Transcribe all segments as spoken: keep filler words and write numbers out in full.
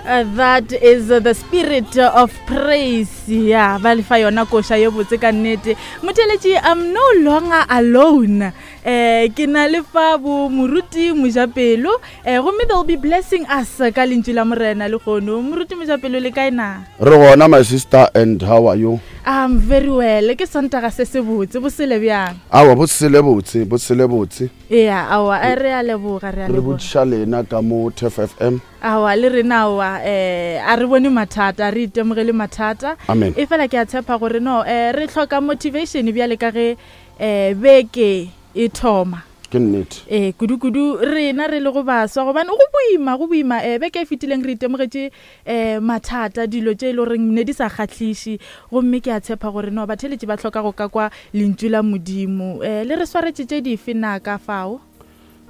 Uh, that is uh, the spirit of praise. Ya ba lefa yona koša ye botse ka nnete. Motheletši, I'm no longer alone. Eh, ke na le fa bo Moruti Mojapelo, eh, gomme they'll be blessing us ka lentšu la Morena lehono. Moruti Mojapelo, le kae na? Re gona, my sister, and how are you? I'm very well. Ke Sontaga se se botse, bo sele bjang? Awa, bo sele botse, bo sele botse. Ea, aowa, eh, re a leboga, re a re leboga. Botšiša lena ka mo T F F M. Aowa, le rena aowa, um a re bone mathata, a re itemogele mathata. Amen. E fela ke a tshepa gore no, um re hloka motivation bjale ka ge um beke e thoma. Ke nnete. Ee, kudu-kudu rena re le go baswa, gobane go boima, go boima. um beke e fetileng re itemogetše um mathata, dilo tše e le goreng ne di sa kgahliše, gomme ke a tshepa gore no batheletši ba hloka go ka kwa lentšu la Modimo. um le re swaretše tše dife na ka fao?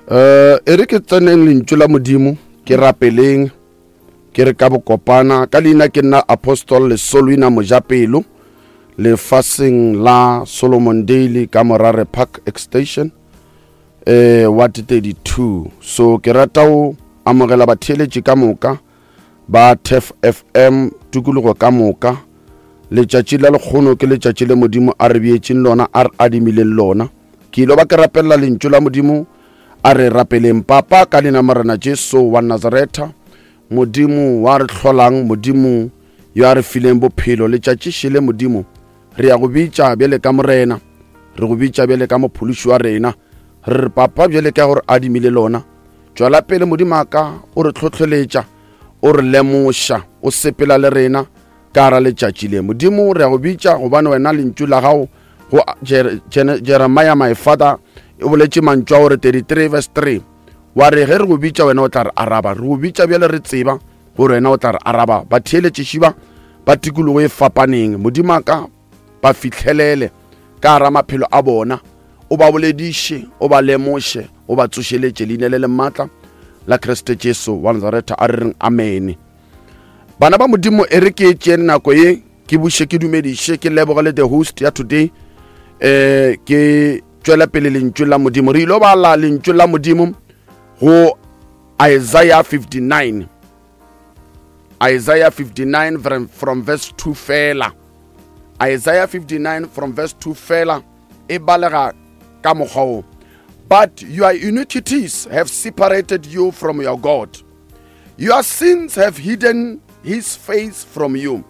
um e re ke tseneng lentšu la Modimo, ke rapeleng. Ke re ka bokopana, ka leina ke nna Apostle Lesolwina Mojapelo, lefaseng la Solomon Daily ka Morare Park Extension, eh ward thirty-two. So ke rata go amogela batheeletši ka moka ba T F F M, tikologo ka moka. Letšatši la lekgono ke letšatši le Modimo a re beetšeng lona, a re adimileng lona. Ke ilo ba ke rapelela lentšu la Modimo. A re rapeleng. Papa, ka leina Morena Jesu wa Nazaretha, Modimo wa re hlolang, Modimo yo a re fileng bophelo, letšatši šele Modimo, re ya go bitša bjale ka Morena, re go bitša bjale ka Mophološi wa rena. Re re, Papa, bjale ka gore adimile lona, tšwela pele, Modimo a ka, o re tlhotlheletša, o re lemoša, o sepela le rena ka gara letšatši le. Modimo, re ya go bitša gobane wena lentšu la gago go Jeremiah, my father, e boletše mantšu a gore thirty-three verse three, wa re ge re go bitša, wena o tla re araba. Re go bitša bjale, re tseba gore wena o tla re araba. Batheeletšešiba ba tikologo e fapaneng, Modimo a ka, ba fihlelele ka gara maphelo a bona, o ba bolediše, o ba lemoše, o ba tsošeletše. Leina le le maatla la Kriste Jesu wa Nazaretha, a re reng amene. Bana ba Modimo, e re ke tšee nako ye ke buše, ke dumediše, ke lebogele the host ya today. um ke tšwela pele lentšu la Modimo. Re ilo bala lentšu la Modimo go Isaiah fifty-nine, Isaiah fifty-nine from, from verse two fela. Isaiah fifty-nine from verse two fela, e balega ka mokgwa wo: "But your iniquities have separated you from your God. Your sins have hidden his face from you,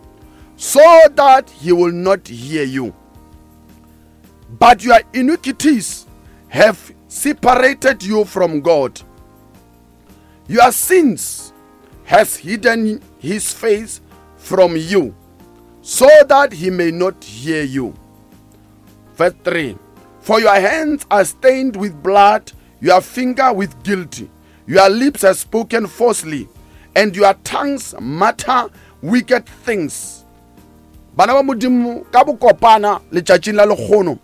so that he will not hear you. But your iniquities have separated you from God. Your sins has hidden his face from you, so that he may not hear you." Verse three: "For your hands are stained with blood, your finger with guilty. Your lips have spoken falsely, and your tongues mutter wicked things." Bana ba Modimo, ka bokopana letšatšing la lekgono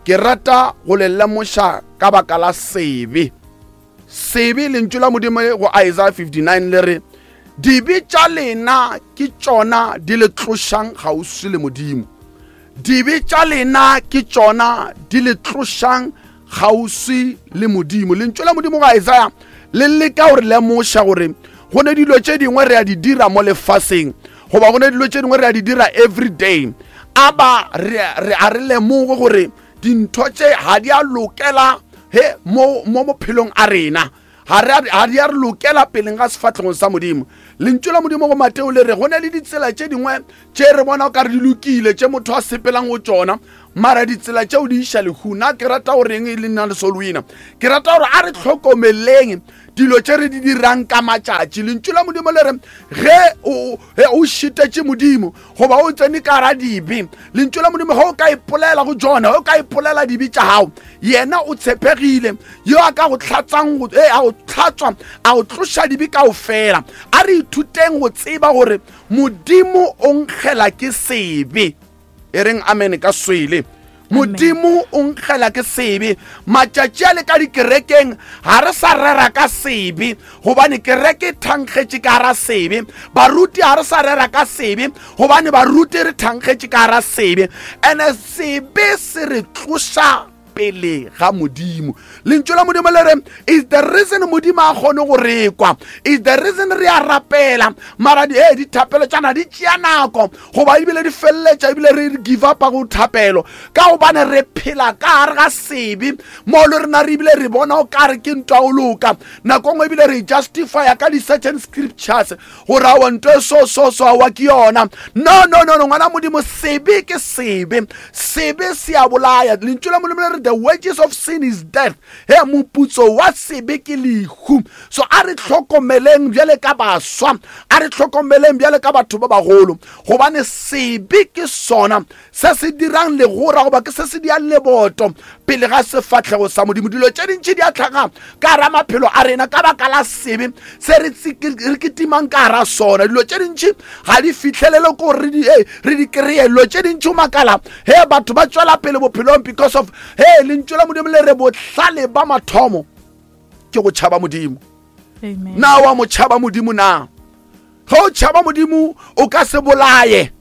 ke rata go le lemoša ka baka la sebe. Sebe, lentšu la Modimo go Isaiah fifty-nine le re dibe tša lena ke tšona di le tlošang kgauswi le Modimo. Dibe tša lena ke tšona di le tlošang kgauswi le Modimo. Lentšu la Modimo go Isaiah le leka gore lemoša gore go ne dilo tše dingwe re a di dira mo lefaseng, goba go ne dilo tše dingwe re a di dira every day, a ba re a re lemoge gore dintho tše ga di a lokela he mo mo mophelong a rena, ga di a re lokela peleng ga sefatlhegong sa Modimo. Lentšu la Modimo go Mateo le re go ne le ditsela tše dingwe tše re bona o ka re di lokile, tše motho a sepelang go tšona, mara ditsela tšeo di iša lehu. Nna ke rata goreng e le nna le Solwina, ke rata gore a re tlhokomeleng dilo tše re di dirang ka matšatši. Lentšu la Modimo le re ge o šitetše Modimo goba o tsene ka ra dibe, lentšu la Modimo, ge o ka ipolela go jona, ge o ka ipolela dibe tša gago, yena o tshepegile yo a ka go tlhatsang, a go tlhatswa, a go tloša dibe kao fela. A re ithuteng go tseba gore Modimo o nkgela ke sebe. E reng amen ka swele. Modimo o nkgela ke sebe. Matšatši a le ka dikerekeng ga re sa rera ka sebe, gobane kereke e thankgetše ka gara sebe. Baruti ga re sa rera ka sebe, gobane baruti re thankgetše ka gara sebe. Ene sebe se re tloša pele ga Modimo. Lentšu la Modimo le re is the reason Modimo a kgone go re kwa, is the reason re a rapela mara di eh dithapelo tšana di tšea nako goba ebile di feleletša ebile re give up go thapelo, ka gobane re phela ka gare ga sebe mo le rena re ebile re bona o kare ke ntwa o loka. Nako nngwe ebile re justifya ka di-certain scriptures gore aowa nto e so so so aowa ke yona. No no no no ngwana Modimo, sebe ke sebe, sebe se a bolaya. Lentšu la Modimo le re the wages of sin is death, he moputso wa sebe ke lehu. So a re hlokomeleng bjale ka baswa, a re hlokomeleng bjale ka batho ba bagolo, gobane sebe ke sona se se dirang legora goba ke se se diang leboto pele ga sefahlego sa Modimo. Dilo tše dintši di a tlhaga ka gara maphelo a rena ka baka la sebe se re re kitimang ka gara sona. Dilo tše dintši ga di fihlelele ko re di re di kreye. Dilo tše dintši o makala he batho ba tswela pele bophelong because of he lentšu la Modimo le re bohlale ba mathomo ke go tšhaba Modimo. Amen. Na wa mo tšhaba Modimo na? Ge o tšhaba Modimo o ka se bolaye,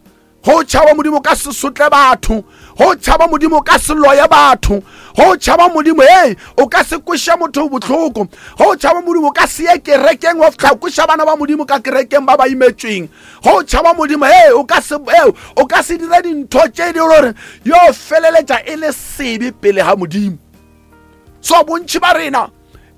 ge o tšhaba Modimo o ka se sotle batho, ge o tšhaba Modimo o ka se loye batho, ge o tšhaba Modimo hey o ka se kweše motho bohloko, ge o tšhaba Modimo o ka se ye kerekeng wa fihla kweša bana ba Modimo ka kerekeng ba ba imetšweng, ge o tšhaba Modimo hey o ka se hey o ka se dire dintho tše di gore yo feleletša e le sebe pele ga Modimo. So bontši ba rena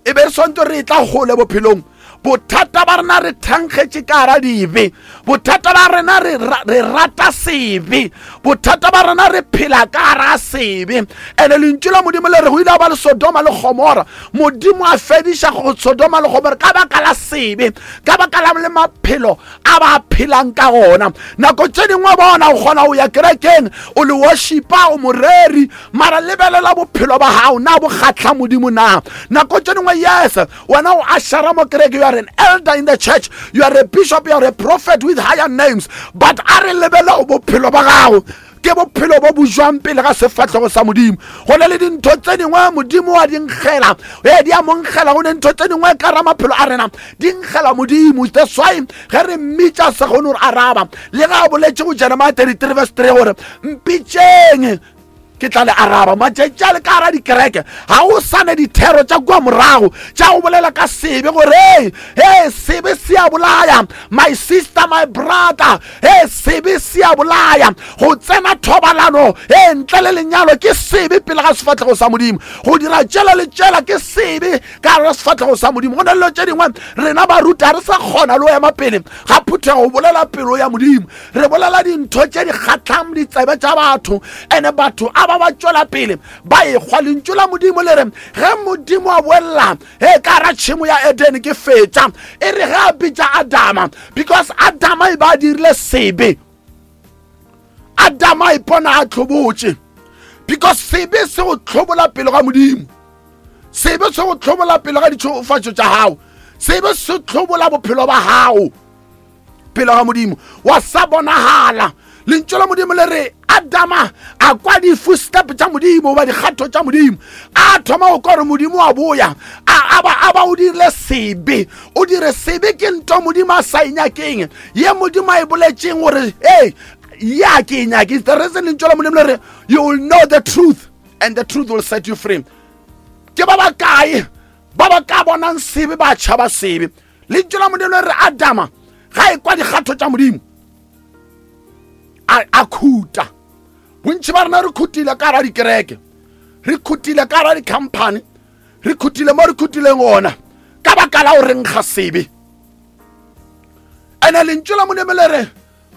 e be re swantse re tla gole bophelong, bothata ba rena re thankgetše ka gara dibe, bothata ba rena re re rata sebe, bothata ba rena re phela ka gara sebe. Ene lentšu la Modimo le re go ile a ba le Sodoma le Gomora, Modimo a fediša go Sodoma le Gomora ka baka la sebe, ka baka la le maphelo a ba phelang ka gona. Nako tše dingwe bona o kgona go ya kerekeng o le worshipa o moreri, mara lebelela bophelo ba gago na bo kgahla Modimo na. Nako tše dingwe yes wena o ashara mo kereke, you are an elder in the church, you are a bishop, you are a prophet with higher names, but a re lebele bophelo ba gago ke bophelo bo bo jwang pele ga sefahlego sa Modimo. Go na le dintho tse dingwe Modimo wa di nkgela, ee di a mo nkgela. Go ne ntho tse dingwe ka ra maphelo a rena di nkgela Modimo. That's why ge re mmitša sa kgone gore araba, le ge a boletše go Jeremiah thirty-three verse three gore mpitšeng ke tla le araba. Matšatši a le ka gara dikereke ga o sane dithero tša kua morago tša go bolela ka sebe gore hey, hey, sebe se a bolaya, my sister, my brother, hey, sebe se a bolaya. Go tsena thobalano hey, ntle le lenyalo ke sebe pele ga sefahlego sa Modimo. Go dira tšela le tšela ke sebe ka gare ga sefahlego sa Modimo. Go na le dilo tše dingwe rena baruti ga re sa kgona le go ema pele ga phuthego go bolela pelo ya Modimo. Re bolela dintho tše di kgahlang ditsebe tša batho, ene batho a ba ba tšwela pele ba ekgwa. Lentšu la Modimo le re ge Modimo a boella he ka gara tšhemo ya Edene ke fetša, e re ge a bitša Adama, because Adama e ba a dirile sebe, Adama a ipona a tlhobotše, because sebe se go tlhobola pele ga Modimo, sebe se go tlhobola pele ga ditšhofatšo tša gago, sebe se tlhobola bophelo ba gago pele ga Modimo, wa sa bonagala. Lentšu la Modimo le re Adama a kwa di-footstep tša Modimo goba dikgatho tša Modimo, a thoma go kwa gore Modimo a boya, a ba a ba o dirile sebe. O dire sebe ke ntho Modimo a sa e nyakeng, ye Modimo a e boletšeng gore hey ya ke e nyake. The reason lentšu la Modimo le re you will know the truth and the truth will set you free. Ke ba bakae ba ba ka bonang sebe ba tšhaba sebe? Lentšu la Modimo le re Adama ga e kwa dikgatho tša Modimo a a khuta. Bontši ba rena re khutile ka gara dikereke, re khutile ka gara di-company, re khutile mo re khutileng gona ka baka la go renkga sebe. Ene lentšu la Modimo le re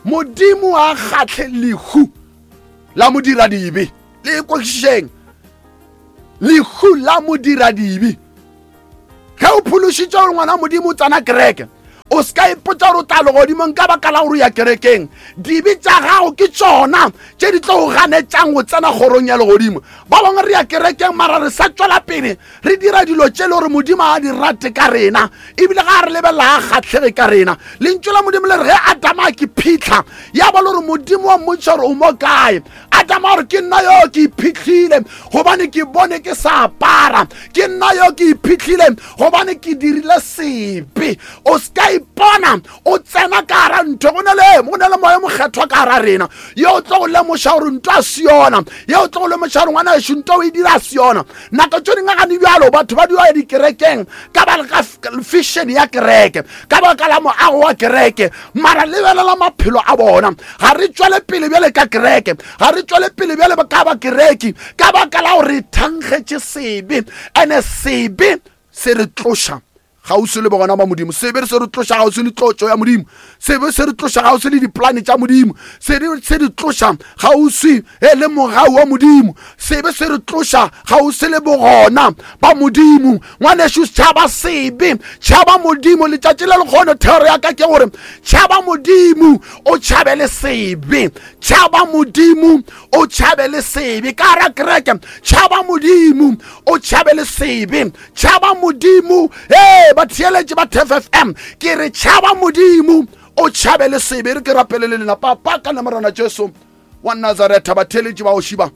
Modimo a kgahle lehu la modiradibe. Le kwešišeng, lehu la modiradibe. Ge o phološitše gore ngwana Modimo o tsena kereke, o se ka ipotša gore o tla legodimong ka baka la gore o ya kerekeng. Dibe tša gago ke tšona tše di tlo go ganetšang go tsena kgorong ya legodimo. Ba bangwe re ya kerekeng mara re sa tšwela pele re dira dilo tše le gore Modimo a di rate ka rena, ebile ga re lebelela a kgahlege ka rena. Lentšu la Modimo le re ge Adama a ke phitlha, ya ba le gore Modimo wa mmontšha gore o mo kae. Adama gore ke nna yo ke iphihlile gobane ke bone ke sa apara, ke nna yo ke iphihlile gobane ke dirile sebe. O se ka ipona o tsena ka gara ntho go na le go na le moya mokgethwa ka gara rena ye o tlo go lemoša gore ntho a se yona ye o tlo go lemoša gore ngwana ešo ntho o e dira se yona nako tse dingwe gane bjalo batho ba dula dikerekeng ka baka fashion ya kereke ka baka la moago wa kereke mara lebelela maphelo a bona ga re tswele pele bjale ka kereke ga re tswele pele bjale ka ba kereke ka baka la gore re thankgetše sebe ene sebe se re tloša gausi le bogona ba modimo sebe se re tloša gausi le tlotšo ya modimo sebe se re tloša gausi le diplane tša modimo sebe se re tloša gausi e le mogau wa modimo sebe se re tloša gausi le bogona ba modimo ngwanešu tšhaba sebe tšhaba modimo letšatši le lekgono thero ya ka ke gore tšhaba modimo o tšhabe le sebe tšhaba modimo o tšhabe le sebe ka ra kereke tšhaba modimo o tšhabe le sebe tšhaba modimo ee batheeletše ba T F F M ke re tšhaba modimo o tšhabe le sebe re ke rapele le lena papa ka namorana Jesu wa Nazaretha batheeletše ba oshiba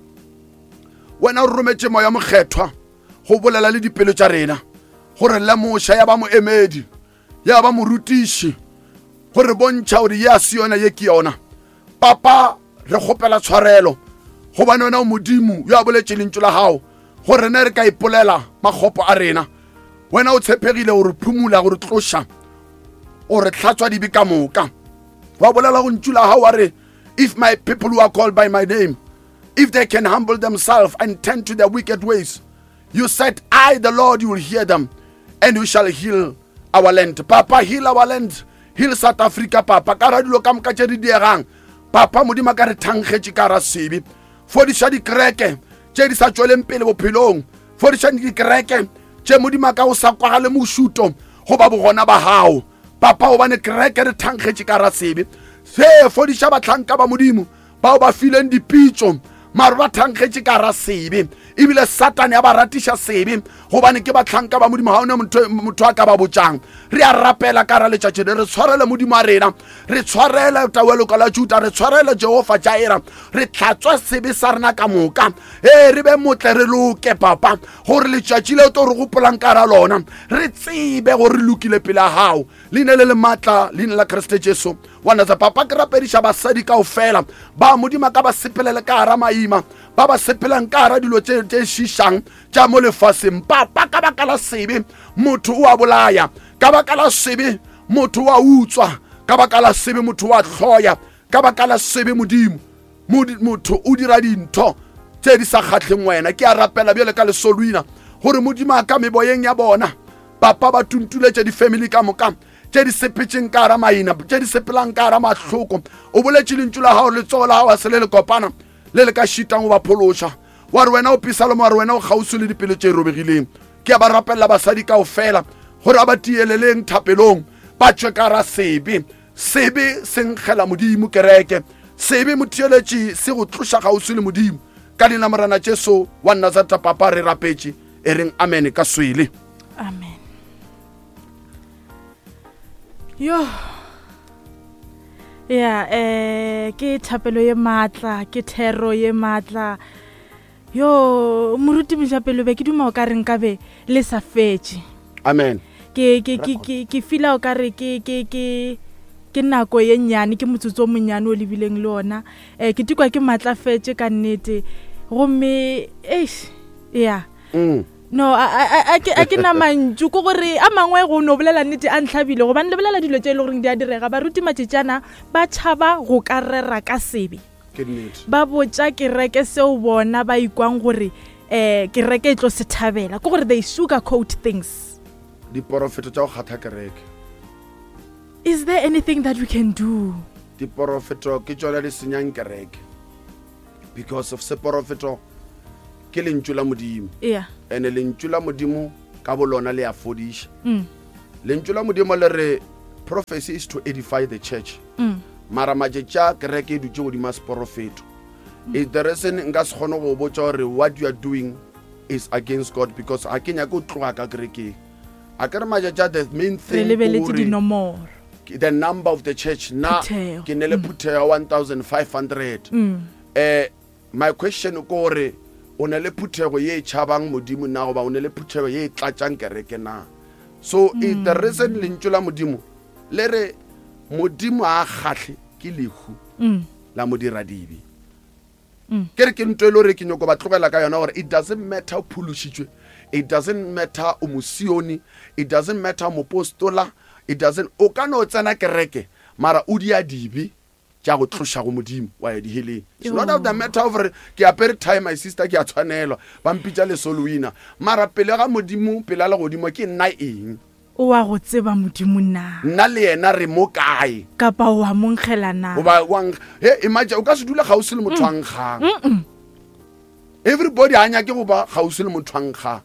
wena o rometše moya mokgethwa go bolela le dipelo tša rena gore lemoša ya ba moemedi ya ba morutiši gore bontšha gore ye a se yona ye ke yona papa re kgopela tshwarelo gobane wena o modimo yo a boletše lentšu la gago gore rena re ka ipolela makgopo a rena wena o tshepegile gore phumula gore tloša o re hlatswa dibe ka moka wa bolela go ntšu la gago wa re if my people who are called by my name if they can humble themselves and turn to their wicked ways you said I the Lord you will hear them and you shall heal our land papa heal our land heal South Africa papa ka ra dilo ka moka tše di diegang papa modimo ka re thankgetše ka ra sebe fodiša dikereke tše di sa tšweleng pele bophelong fodiša dikereke tše modimo ka o sa kwagale mošuto goba bogona ba gago papa gobane kereke re thankgetše ka ra sebe se fodiša bahlanka ba modimo bao ba fileng dipitšo mare ba thankgetše ka ra sebe ebile satane ya ba ratiša sebe gobane ke bahlanka ba modimo ga one motho a ka ba botšang re a rapela ka ra letšatši le re tshwarele modimo a rena re tshwarele tawelo la Juda re tshwarele Jehova Jaira re tlhatswe sebe sa rena ka moka ee re be motle re loke papa gore letšatši leo to re gopolang ka ra lona re tsebe gore re lokile pele a gago leina le le maatla leina la Kriste Jesu wa Nazareth papa ke rapediša basadi kaofela ba modimo ka ba sepelele ka gara maima ba ba sepelang ka gara dilo tše tše šišang tša mo lefaseng papa ka baka la sebe motho o a bolaya ka baka la sebe motho o a utswa ka baka la sebe motho o a hloya ka baka la sebe modimo motho o dira dintho tše di sa kgahleng wena ke a rapela bjale ka lesolwina gore modimo a ka meboyeng ya bona papa ba tuntuletše di-family ka moka tše di sepetšeng ka gara maina tše di sepelang ka gara mahloko o boletše lentšu la gago letsogo la gago a se le le kopana le le ka šitang go ba phološa wa re wena o Pisaloma wa re wena o kgauswi le dipelo tše robegileng ke a ba rapelela basadi kaofela gore a ba tieleleng thapelong ba tšwe ka ra sebe sebe se nkgela modimo kereke sebe motheeletši se go tloša kgauswi le modimo ka leina morena Jesu wa Nazareth papa re rapetše e reng amen ka swele amen yo ya eh ke thapelo ye maatla ke thero ye maatla yo moruti Mojapelo be ke duma o ka re nkabe le sa fetše amen ke ke ke ke ke feel o ka re ke ke ke ke nako ye nnyane ke motsotso o monnyane o lebileng le ona eh ke tikwa ke matlafetše ka nnete gomme eish ya mm. no a a ke a ke na mantšu ke gore a mangwe go no bolela nnete a ntlhabile gobane le bolela dilo tše e le goreng di a direga baruti matšetšana ba tšhaba go ka rera ka sebe ke nnete ba botša kereke seo bona ba ikwang gore um kereke e tlo se thabela ke gore they sugar coat things diporofeto tša go kgatha kereke is there anything that we can do diporofeto ke tšona di senyang kereke because of seporofeto ke lentšu la modimo yeah ene lentšu la modimo ka bolona le a fodiša mm. lentšu la modimo le re prophecy is to edify the church Mm. mara matšatši a kereke e dutše godimo a seporofeto mm. the reason nka se kgone go botša gore what you are doing is against God because ga ke nyake go tloga ka kerekeng a ke re matšatši a the main re thing lebeletse ke gore dinomoro the number of the church na Phuthego. ke ne le phuthego ya one thousand five hundred Mm. eh my question ke gore o ne le phuthego ye e tšhabang modimo na goba o ne le phuthego ye e tlatšang kereke na so mm. the reason lentšu la modimo Le re Modimo a kgahle ke lehu Mm. la modiradibe. Ke re ke ntho e le gore ke nyoko ba tlogela ka yona gore it doesn't matter o phološitšwe, it doesn't matter o mosione, it doesn't matter o mopostola, it doesn't, o ka no tsena kereke mara o dia dibe tša go tloša go Modimo wa ya diheleng. It's not of the matter of gore ke apere tie, my sister, ke a tshwanelwa, ba mpitša Lesolowina, mara pele ga Modimo, pele a legodimo, ke nna eng? O wa go tseba Modimo na? Nna le yena re mo kae? Kapa o wa mo nkgela na? Goba wa nkg-, he, imagine o ka se dule kgauswi le motho a nkgang. Everybody a nyake go ba kgauswi le motho a nkgang.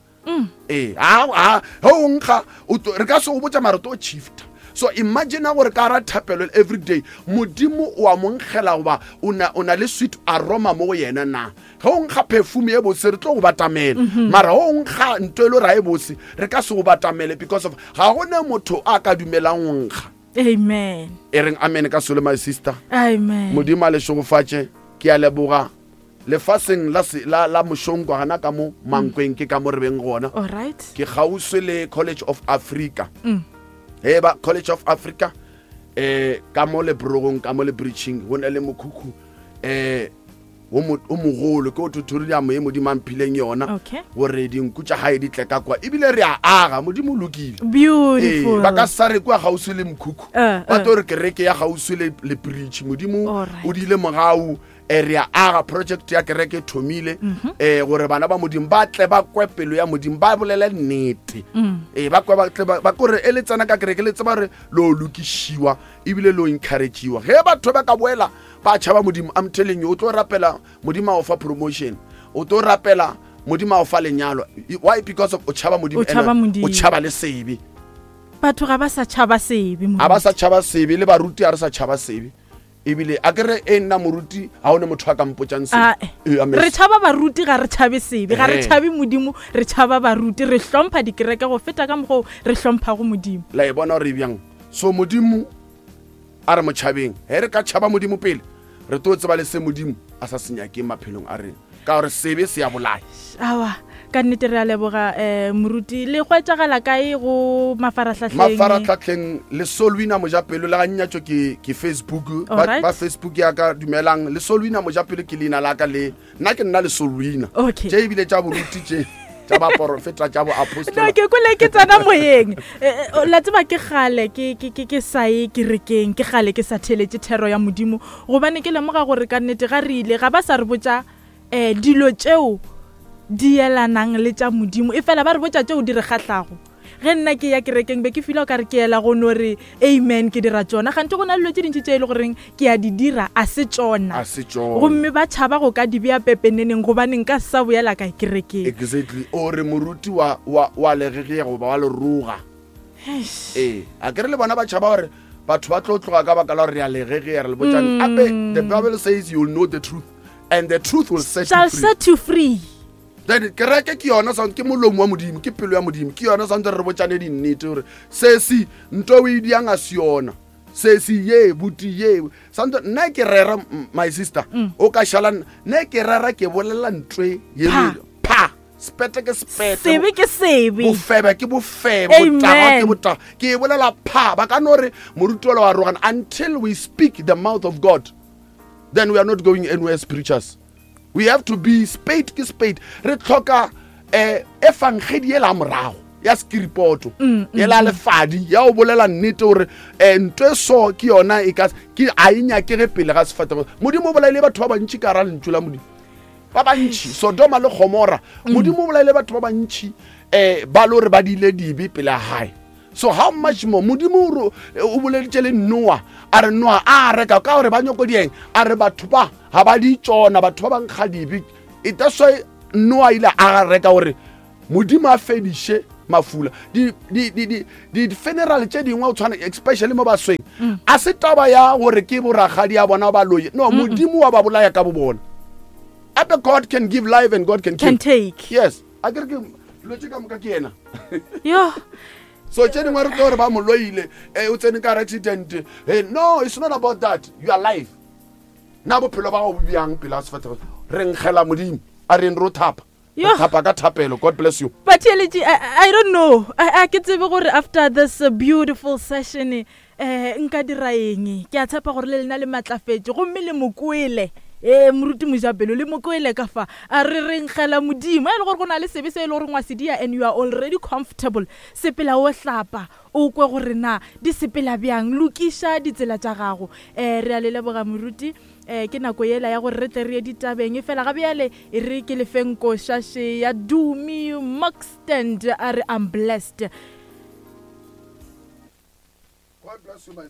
Ee, a, a, he o nkga, o tlo, re ka se go botša mara o tlo shifta. So imagine gore ka ra thapelo every day, Modimo o a mo nkgela goba o na, o na le sweet aroma mo go yena na? Ge o nkga perfume e botse, re tlo go batamela. Mara ge o nkga ntho e le gore ha e botse, re ka se go batamele because of ga go ne motho a ka dumelang go nkga. Amen. E reng amen ka solo, my sister. Amen. Modimo a le šegofatše, ke a leboga. Lefaseng la se, la, la Mošonkwa gana ka mo Mankweng, ke ka mo re beng gona. All right. Ke kgauswi le College of Africa. Mm. He ba College of Africa, eh, ka mo lebrogong, ka mo le bridging, go na le mokhukhu, eh, o mo, o mogolo, ke o tutorial e Modimo a mphileng yona. Okay. Gore dinku tša hae di tle ka kwa. Ebile re a aga, Modimo o lokile. Beautiful. Ee, ba ka sa re kwa kgauswi le mokhukhu. Eh, Ba eh. tlo re kereke ya kgauswi le, le bridge. Modimo Alright. o diile mogau, eh, re a aga project ya kereke e thomile, Mhm. eh, gore bana ba Modimo ba tle ba kwe pelo ya Modimo, ba bolele nnete. Mm. Eh, ba kwe ba tle ba, ba kore e le tsena ka kereke, le tseba gore lo lokišiwa ebile lo encourage-iwa. Ge batho ba ka boela ba tšhaba Modimo, I'm telling you, o tlo rapela Modimo a o fa promotion, o tlo rapela Modimo a o fa lenyalo. Why? Because of o tšhaba Modimo O tšhaba and Modimo. o tšhaba le sebe. Batho ga ba sa tšhaba sebe, Ga ba moruti. sa tšhaba sebe, le baruti ga re sa tšhaba sebe. Ebile a ke re e nna moruti, ga o ne motho a ka mpotsang sebe. Ah, eh. Ee, amen. Re tšhaba baruti, ga re tšhabe sebe, ga re Ehe. tšhabe Modimo, re tšhaba baruti, re hlompha dikereke go feta ka mokgwa o re hlomphago Modimo. La e bona gore e bjang? So Modimo a re mo tšhabeng. Ge re ka tšhaba Modimo pele, re tlo tseba le se Modimo a sa se nyakeng maphelong a rena, ka gore sebe se a bolaya. Aowa, ka nnete re a leboga, eh, moruti. Le hwetšagala kae go mafarahlahleng? Mafarahlahleng, Lesolwina Mojapelo, le ga nnyatšo ke, ke Facebook. Ba, Alright. ba Facebook ya ka, dumelang. Lesolwina Mojapelo ke leina la ka le. Nna ke nna Lesolwina. Okay. Tše ebile tša boruti tše, tša baporofeta, tša boapostola. No, ke kwele ke tsena moyeng. Eh, eh, la tseba ke kgale ke, ke, ke, ke sa ye kerekeng, ke kgale ke sa theeletše thero ya Modimo, gobane ke lemoga gore ka nnete ga re ile ga ba sa re botša, eh, dilo tšeo di elanang le tša Modimo, e fela ba re botša tšeo di re kgahlago. Ge nna ke ya kerekeng be ke feel o ka re ke ela go no re amen, ke dira tšona. Kganthe go na le dilo tše dintši tše e le goreng ke a di dira, a se tšona. A se tšona. Gomme ba tšhaba go ka di bea pepeneneng, gobane nka sa boela ka kerekeng. Exactly. O re moruti wa, wa, wa legegea goba wa leroga. Eish. Ee, a ke re le bona ba tšhaba gore batho ba tlo tloga ka baka la gore re a legegea, re le botšane. Gape the Bible says you will know the truth and the truth will set you Shall free. set you free. Then kereke ke yona sound, ke molomo wa Modimo, ke pelo ya Modimo, ke yona sound re botšane dinnete gore se se ntho o e diang a se yona. Se se ye buti ye. Sound nna ke rera, m-, my sister, Mm. o ka šala nna. Nna ke rera ke bolela ntwe ye Pha. le pha. Sepete ke sepete. Sebe ke sebe. Bofebe ke bofebe, Amen. botagwa ke botagwa. Ke e bolela pha, ba ka no re moruti ola wa rogana until we speak the mouth of God. Then we are not going anywhere as preachers. We have to be spade ke spade. Re tlhoka, eh, efangedi ela morago ya skripoto, Mm, mm, ela lefadi ya o bolela nnete gore, eh, ntho e so ke yona e ka ke a e nyakege pele ga sefahlego. Modimo o bolaile batho ba bantši ka hara lentšu la Modimo. Ba bantši, Sodoma le Gomora. Mm. Modimo o bolaile batho ba bantši, eh, ba le hore ba diile dibe pele ga hae. So how much more Modimo o ro-, o boleditše le Noah, a re Noah a reka ka gore ba nyoko dieng, a re batho ba ga ba di tšona, batho ba bankga dibe. It that's why Noah ile a reka gore Modimo a fediše mafula. Di, di, di, di, di funeral tše dingwe o tshwana, especially mo basweng, Mm. a se taba ya gore ke borakgadi ya bona ba loye. No, Mm-mm. Modimo wa ba bolaya ka bo bona. Ape God can give life and God can kill. Can take. Yes. A ke re ke dilo tše ka moka ke yena. Yo. So tše dingwe re tlo gore ba mo loile, eh, o tsene ka hara accident. Eh, no, it's not about that. You are alive. Na bophelo ba gago bo bjang pele ga sefahlego? Re nkgela Modimo, a re ro thapa. Re Yo. thapa ka thapelo. God bless you. But I, I don't know. I, I ke tsebe gore after this, uh, beautiful session, um nka dira eng? Ke a tshepa gore le lena le matlafetše gomme le mokwele. Ee, moruti Mojapelo, le mokwele ka fa. A re renkgela Modimo. E le gore go na le sebe se e le goreng wa se dia and you are already comfortable, sepela o hlapa, o kwe gore na di sepela bjang, lokiša ditsela tša gago. Um re a le leboga, moruti. Um ke nako yela ya gore re tle re ye ditabeng, fela ga bjale e re ke lefeng košaše ya Dumi Moxtend, a re "I'm blessed". God bless you, my